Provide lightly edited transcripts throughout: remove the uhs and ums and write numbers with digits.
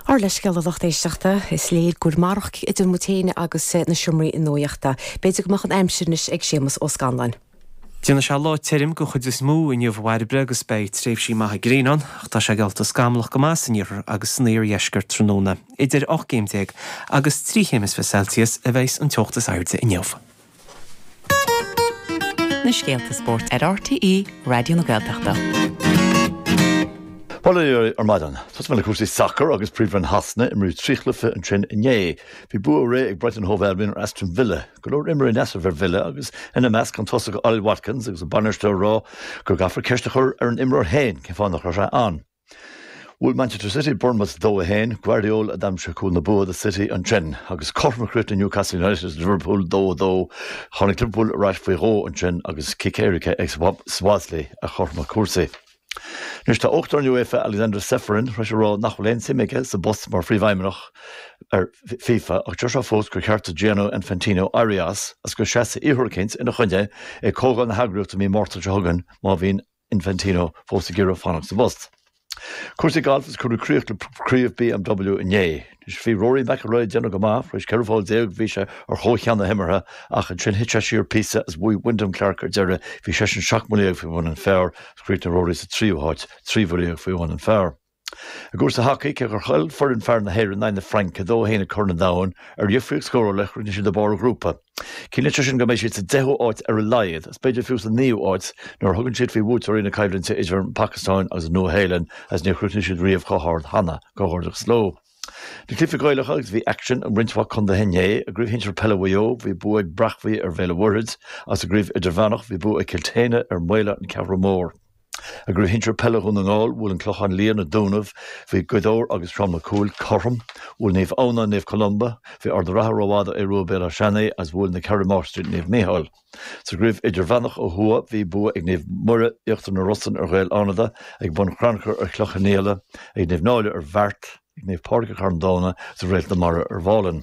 Ár leithscéal a lucht éisteachta, is léir gur marach idir muid féin agus na seomraí nuachta. B'fhéidir go mbeadh an aimsir anois ag Séamus Ó Scanláin. Déanfaidh sé lá tirim den chuid is mó inniu a Bhairbre agus beidh tréimhsí maithe gréine ann, ach tá sé geallta scamallach go maith san iarthar agus san iardheisceart tráthnóna. Idir 18 gcéim agus 3 chéim is 20 Celsius a bheas an teocht is airde inniu. Na scéalta spóirt ar RTÉ Raidió na Gaeltachta. Bail ó Dhia oraibh ar maidin. Tosóidh mé le cúrsaí sacair agus Príomhroinn Shasana. Imríodh 3 chluiche ansin inné. Bhí bua réidh ag Brighton Hove Albion ar Aston Villa. Go leor imreoirí in easnamh ar Villa agus ina measc an tosach Ollie Watkins agus an bainisteoir ag rá go gcaithfear ceist a chur ar an imreoir féin cén fáth nach raibh sé ann. Bhuail Manchester City Bournemouth 2, 1, Gvardiol a d'aimsigh cúl na bua do City ansin agus cothrom a chríochnaigh Newcastle United agus Liverpool 2, 2. Tháinig Liverpool ar ais faoi dhó ansin agus cic éirice ag Szoboszlai a chothromaigh cúrsaí. Anois tá Uachtarán UEFA Alexander Ceferin tar éis a rá nach bhfuil aon suim aige sa bpost mar phríomhfheidhmeannach ar FIFA ach deir sé fós gur cheart do Gianni Infantino éirí as agus go seasfaidh iarrthóir eicínt ina choinne ag comhdháil na heagraíochta mí Márta seo chugainn má bhíonn Infantino fós ag iarraidh fanacht sa bpost. Cúrsaí gailf is cuireadh críoch le Craobh BMW inné. Anois bhí Rory McIlroy ag déanamh go maith, tar éis 14 pholl bhí sé ar chomh-cheann na himeartha ach ansin thit sé siar píosa agus bhuaigh Wyndham Clark ar deireadh, bhí seisean 17 mbuille faoi bhun an phar agus chríochnaigh Rory sa tríú háit, 13 bhuille faoi bhun an phar. I gcúrsaí hacaí, cé gur chaill foireann fear na hÉireann in aghaidh na Fraince 2-1 ag Corn an Domhain, ar dhifríocht scórála, chríochnaigh siad ag barr a ngrúpa. Ciallaíonn sé sin go mbeidh siad sa deichiú háit ar a laghad, agus b'fhéidir fiú sa naoú háit, nuair a thugann siad faoi bhuaiteoirí na coimhlinte idir an Phacastáin agus an Nua-Shéalainn, agus níor chríochnaigh siad riamh chomh hard cheana. Comhghairdeachas leo. Na cluichí Gaelacha agus bhí aicsean i roinnt mhaith contaetha inné. I gCraobh Shinsir Peile Mhaigh Eo, bhí bua ag Breachmhaigh ar Bhéal an Mhuirthead, agus i gCraobh Idirmheánach, bhí bua ag Cill tSéadhna ar Mhaola an Cheathrú Mór. I gCraobh Shinsir Peile Dhún na nGall, bhuail An Clochán Liath na Dúnaibh, bhí Gaoth Dobhair agus Sráid Mac Cumhaill cothrom, bhuail Naomh Adhamhnáin Naomh Columba, bhí Ard an Rátha rófhada ó Aodh Rua Béal Átha Seanaidh agus bhuail na Ceathrú Máistrí Naomh Mícheál. Sa gCraobh Idirmheánach ó thuaidh, bhí bua ag Naomh Muire, Íochtar na Rosann ar Ghaeil Fhánada, ag Bun Cranncha ar Chloich Cheann Fhaola, ag Naomh Náille ar Bheart, ag Naomh Pádraig ar Charn Domhna agus ag Réalt na Mara ar Mhálainn.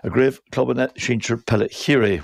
I gCraobh Clubanna Sinsir Peile Chiarraí.